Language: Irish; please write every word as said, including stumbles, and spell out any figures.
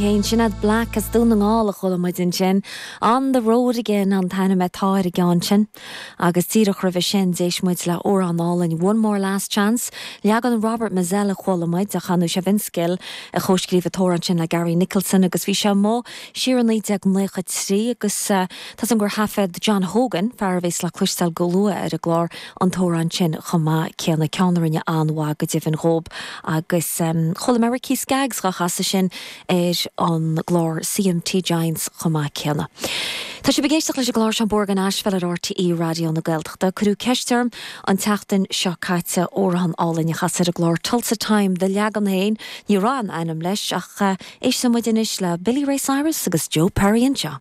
Féin Sinéad Black as Dún na nGall a chuala muid ansin. On the road again an t-ainm atá ar an gceann sin. Agus díreach roimhe sin d'éist muid le amhrán álainn One More Last Chance, leagan Robert Mizzell a chuala muid a chanadh sé Vince Gill a chomhscríobh an t-amhrán sin le Gary Nicholson agus bhí sé amuigh siar i naoi déag nócha trí agus uh, tá an gur thaifead John Hogan fear a bheas le cloisteáil go luath ar an gclár an t-amhrán sin chomh maith céanna ceann a rinne an-mhaith go deimhin dhóibh agus um, chuala mé Ricky Skaggs á chasadh sin ar an gclár CMT Giants chomh maith céanna. Tá sibh ag éisteacht leis an gclár seo Bóthar na hAisbheil ar RTÉ Raidió na Gaeltachta, Cuireadh ceist orm an tseachtain seo caite amhrán álainn a chasadh ar an gclár Tulsa Time do leagan féin ní raibh aon ainm leis ach uh, éistfidh muid anois le Billy Ray Cyrus agus Joe Perry anseo.